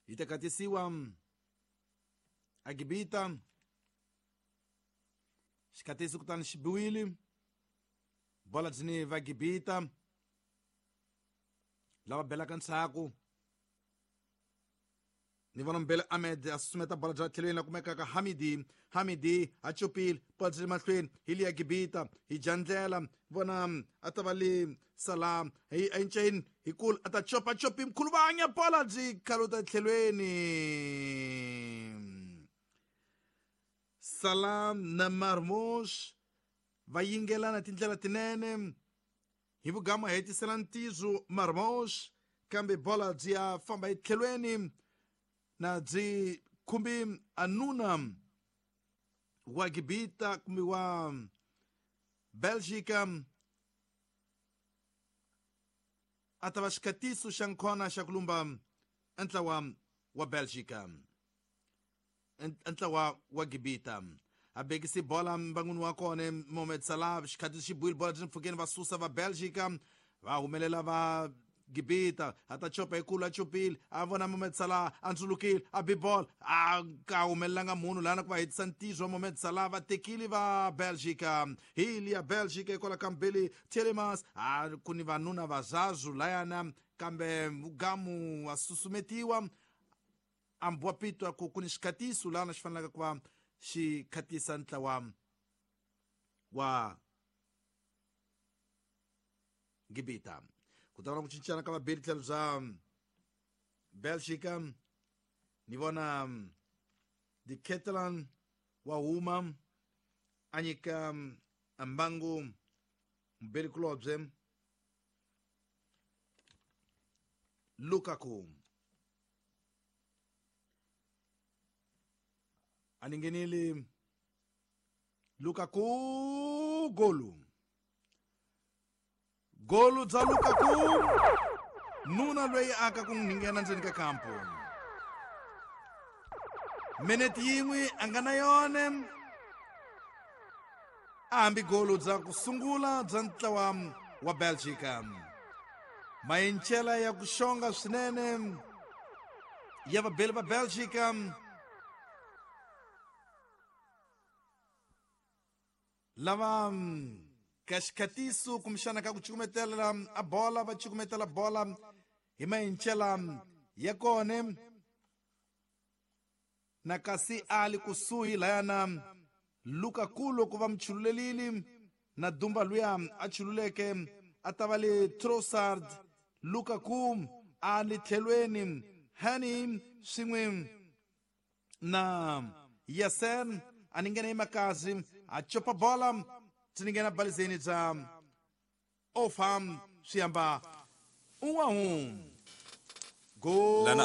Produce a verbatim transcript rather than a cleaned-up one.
Yi ta katisiwa a Gibita. Xikatisi kutani xi biwile. Bola byi va Gibita. Lava belaka ntshaku. Ni vona Mbele Ahmed a susumeta bola bya tlhelweni la kumekaka Hamidi. Hamidi a chopile bola byi le mahlweni hi liya Gibita hi jandlela vona a ta va le Salah hi enceni hi kula a ta chopa chopi mkhuluvanya bola byi khaluta tlhelweni. Salah na Marmoush va yingelana tindlela tinene hi vugama hetisela ntizo Marmoush kambe bola byi ya famba etlhelweni na byi khumbi anuna wa Gibita kumbe wa Belgica a ta va xikatiso xa nkhona xa ku lumba ntlawa wa Belgica ntlawa wa Gibita. A bekisi bola mbanguni wa kona Mohamed Salah xikatiso xi buyile bola byi mpfhukeni va susa va Belgica va humelela va Gibita a ta chopa hi kulu a chopile a vona Mohamed Salah a ndzulukile a bi ball a ka humelelanga munhu lana ku va hetisa ntizo wa Mohamed Salah va tekile va Belgica hi liya Belgica hikwalaho ka Mbele Tielemans a ku ni vanuna va Zazu layana kambe mugamu wa susumetiwa a mbiwa pitwa ku ku ni xikatiso lana xi fanelaka ku va xi khatisa ntlawa wa Gibita. Ku ta va na ku cincana ka vabeli tlhelo bya Belgica ni vona De Ketelaere wa huma a nyika mbangu mubeli kulobye Lukaku a ni nghenile Lukaku golu golu bya Lukaku nuna loyi aka ku nghena ndzeni ka kampo minute yin'we a nga na yona a hambi golu bya ku sungula bya ntlawa wa Belgica mayincela ya ku xonga swinene ya vabeli va Belgica lava ka xikatiso kumbexana ka ku cukumetela a bola va cukumetela bola hi mayincela ya kona na kasi a li kusuhi layana Lukaku loko va mi chululelile na Dumba luya a chululeke a ta va le Trossard Lukaku a li tlhelweni Hani swin'we na Yasen a ni nghena emakazi a chopa bola byi nghena balizeni bya Ofam swi hamba un'we go Lana